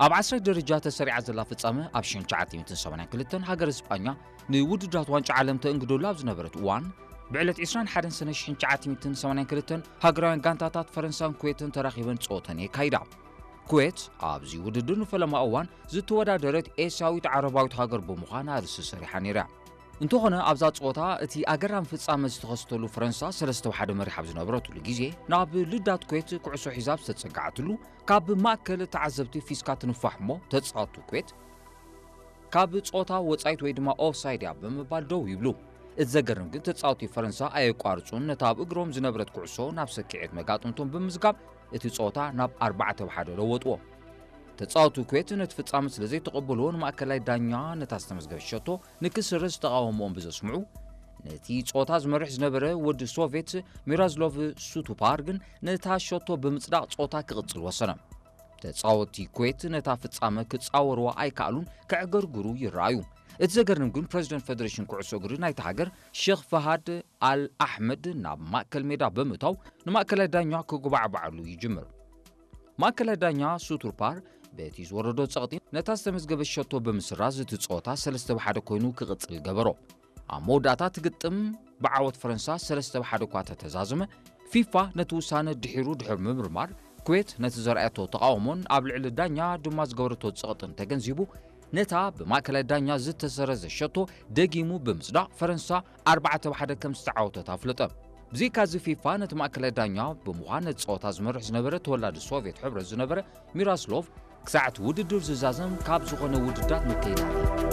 ኣብ ዓስራይ ደረጃ ተሰሪዓ ዘላ ፍጻመ ኣብ ሽሕን ትሽዓተ ሚእትን ሰማንያን ክልተን ሃገር እስጳኛ ንውድድራት ዋንጫ ዓለም ተእንግደሉ ኣብ ዝነበረት እዋን፣ ብዕለት ዕስራን ሓደን ሰነ ሽሕን ትሽዓተ ሚእትን ሰማንያን ክልተን ሃገራውያን ጋንታታት ፈረንሳን ኩዌትን ተራኺበን ጸወተን የካይዳ። ኩዌት ኣብዚ ውድድር ንፈለማ እዋን ዝተወዳደረት ኤስያዊት ዓረባዊት ሃገር ብምዃን ኣርእስቲ ሰሪሓ ነይራ። እንተኾነ ኣብዛ ጸወታ እቲ ኣገራሚ ፍጻመ ዝተኸስተሉ ፈረንሳ ሰለስተ ብሓደ መሪሓ ኣብ ዝነበረትሉ ግዜ ናብ ልዳት ኩዌት ኩዕሶ ሒዛ ኣብ ዝተጸጋዓትሉ ካብ ማእከል ተዓዘብቲ ፊስካ ትንፋሕ እሞ ተጻወቱ ኩዌት ካብ ጸወታ ወጻኢት ወይ ድማ ኦፍሳይድ እያ ብምባል ደው ይብሉ። እቲ ዘገርም ግን ተጻወቲ ፈረንሳ ኣየቋርጹን ነታ ኣብ እግሮም ዝነበረት ኩዕሶ ናብ ሰኪዔት መጋጥምቶም ብምዝጋብ እቲ ጸወታ ናብ ኣርባዕተ ብሓደ ለወጥዎ። ተጻወቲ ኩዌት ነቲ ፍጻመ ስለ ዘይተቐበልዎ ንማእከላይ ዳኛ ነታ ዝተመዝገበ ሸቶ ንክስረዝ ተቓውሞኦም ብዘስምዑ፣ ነቲ ጸወታ ዝመርሕ ዝነበረ ወዲ ሶቬት ሚራዝሎቭ ሱቱፓር ግን ነታ ሸቶ ብምጽዳቕ ጸወታ ክቕጽል ወሰነ። ተጻወቲ ኩዌት ነታ ፍጻመ ክጻወርዋ ኣይከኣሉን፣ ከዕገርግሩ ይረኣዩ። እቲ ዘገርም ግን ፕረዚደንት ፌደሬሽን ኩዕሶ እግሪ ናይታ ሃገር ሼኽ ፈሃድ ኣል ኣሕመድ ናብ ማእከል ሜዳ ብምእታው ንማእከላይ ዳኛ ክጉባዕባዓሉ ይጅምር። ማእከላይ ዳኛ ሱቱርፓር በቲ ዝወረዶ ጸቕጢ ነታ ዝተመዝገበ ሸቶ ብምስራዝ እቲ ጸወታ ሰለስተ ብሓደ ኮይኑ ክቕጽል ገበሮ። ኣብ መወዳእታ እቲ ግጥም ብዓወት ፈረንሳ ሰለስተ ብሓደ እኳ ተተዛዘመ፣ ፊፋ ነቲ ውሳነ ድሒሩ ድሕሪ ምምርማር፣ ኩዌት ነቲ ዘርኣየቶ ተቓውሞን ኣብ ልዕሊ ዳኛ ድማ ዝገበረቶ ጸቕጥን ተገንዚቡ፣ ነታ ብማእከላይ ዳኛ ዝተሰረዘ ሸቶ ደጊሙ ብምጽዳቕ ፈረንሳ ኣርባዕተ ብሓደ ከም ዝተዓወተት ኣፍለጠ። ብዘይካዚ ፊፋ ነቲ ማእከላይ ዳኛ ብምዃን ነቲ ጸወታ ዝመርሕ ዝነበረ ተወላዲ ሶቭየት ሕብረት ዝነበረ ሚራስሎቭ ክሳዕ እቲ ውድድር ዝዛዘም ካብ ዝኾነ ውድዳት ምከይድ